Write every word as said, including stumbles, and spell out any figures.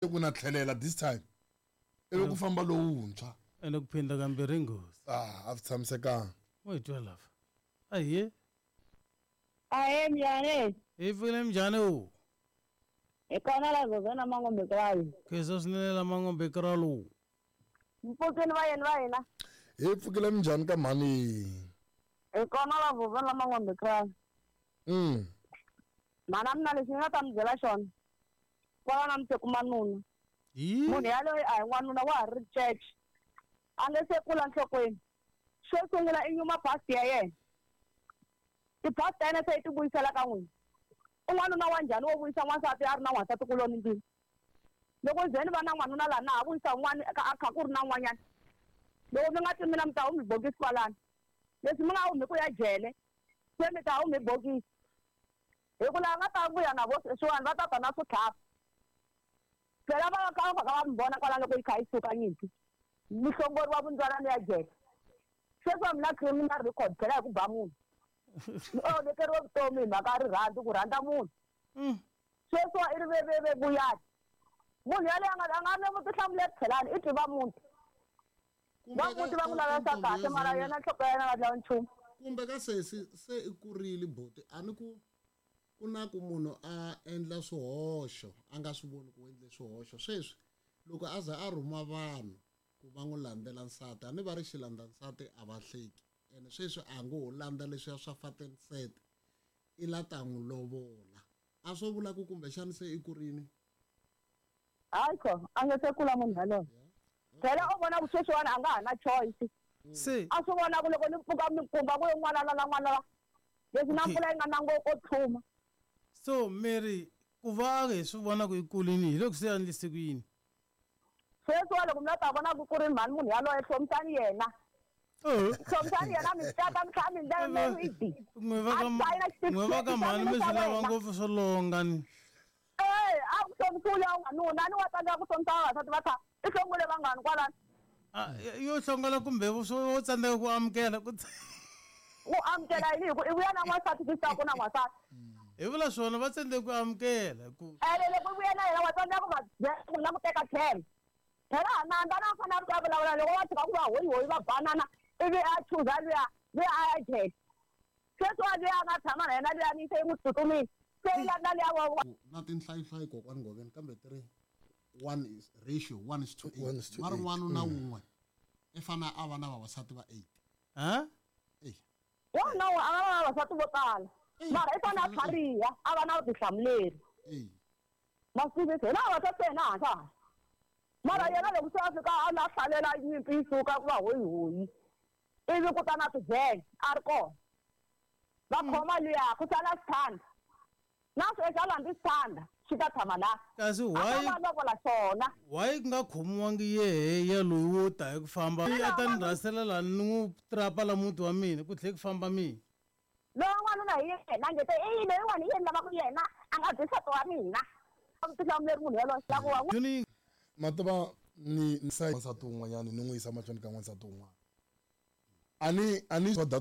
Ku na tlhelela this time ivi ku famba lowuntshwa. Ende ku phinda kambirhi i nghozi. Ah, a swi tshamisekanga. Mo hi twa lava. Ahee. Ahee, njhani? Hi pfukile, minjhani u? Hi kona la Zozana Mangombe Kralu. Khensa swinene la Mangombe Kralu. Mpfukini vayeni va hina. Hi pfukile, minjhani ka mhani? Hi kona la Zozana Mangombe Kralu. Mm. Mana mina lexi ni nga ta mi byela xona. Kwala na mi se kuma nuna. Hi? Munhu yaloye a hi n'wanuna, wa ha ri church. A nge se kula nhlokweni. Xo sungula i nyuma past ya yena. Ti-past ta yena se i ti vuyisela ka n'wina. I n'wanuna wa njhani wo vuyisa n'wansati a ri na n'wansati kuloni ndlwini? Loko ze ni va na n'wanuna laha na ha vuyisa un'wana a kha ku ri na un'wanyana. Loko mi nga twi mina mi ta humi bokisi kwalano. Leswi mi nga humi ku ya jele, se mi ta humi bokisi. Hi ku laha nga ta vuya na vo sweswiwani va ta ta na switlhavi. Phela va ka va va mi vona kwalano loko yi kha yi suka nyimpi. Mi hlongoriwa vundzwalani ya jele. Sweswi mi na criminal record phela hi ku ba munhu. Mi onhekeriwe vutomi hi mhaka ya rirhandzu, ku rhandza munhu. Sweswiwa i ri ve vuyani. Munhu yaloye a nga a nga na vutihlamuleri tlhelani, i tiva muti. Va muti va n'wi lavisa kahle mara yena nhloko ya yena a nga lavi nchumu. Kumbe ka sesi se i kurile buti, a ni ku ku na ku munhu a endla swihoxo a nga swi voni ku endle swihoxo. Sweswi loko a za a rhuma vanhu ku va n'wi landzela nsati, a ni va ri xilandza nsati a va hleki. Ene sweswi a ngo ho landza leswiya swa fat and set, i la ta n'wi lovola. A swo vula ku kumbexani se i kurini? Hayi kho, a nge se kula munhu yaloye. Phela u vona ku sweswiwani a nga ha na choice. Se a swi vona ku loko ni pfuka mi kumba ku n'wana la na n'wana la. Leswi na mpfula yi nga na ngopfu ko tlhuma. So Mary, ku va hi swi vona ku i kulini hi loko se a endlise ku yini? Sweswiwa loko mi la ta vona ku ku ri mhani munhu yaloye, hlomisani yena. Oh. Hlomisani yena mi tata mi tlhela mi ndlela mi ri. N'we va ka A sayina xitifiketi n'we va ka xa mhani mi mina swi xa lava wena. ngopfu swo longa ni. Eh, a ku hlomisiwa n'wanuna, ni wa tsandzeka ku hlomisa vavasati va kha i hlongole vangani kwalano. Ah, yo hlongola kumbe wo tsandzeka ku amukela ku Ku amukela yini hi ku i vuya na n'wansati swi ku na n'wansati. Hi vula swona va tsandzeka ku amukela ku Ene loko i vuya na yena wa tsandzeka ku va byela ku na ku teka tlhelo. Phela Nanda na fanele a vulavula loko va tshika ku va hoyi hoyi va banana ivi a chuza luya luya a ya jele. Sweswiwa luya a nga tshama na yena luya ni se yi n'wi tsutsumile. Se yi landza luya wa wa Na tinhlayihlayi kokwani Ngoveni, kambe ti ri one is ratio one is to eight. One is to Va ri eight. n'wanuna wun'we i fanele a va na vavasati va eight. Ha? Eh. Wanuna a nga va na vavasati vo tala. Mara i fanele a tlhariha, a va na vutihlamuleri. Eh. Masivisi hina vavasati se hina hansi. Mara yena loko se a fika a la hlalela nyimpi yi suka ku va hoyi hoyi. Ivi ku ta na tijele a ri kona. Va khoma luya ku sala xithanda. Na sweswi a landzi xithanda xi ta tshama laha. Kasi A why ta va lovola xona. Why ku nga khomiwangi yehe ya loyi wo ta hi ku famba? A ta ni rhasela laha ni n'wi trapa la muti wa mina ku tlhela ku famba mina. Loyi n'wanuna hi yena nge te i loyiwani hi yena lava ku yena a nga byi nsati wa mina. Vutihlamuleri munhu yaloye la ku wa n'wi Joni Mativa ni ni sa n'wansati un'wanyana ni n'wi yisa mahlweni ka n'wansati un'wana. A ni a ni swa that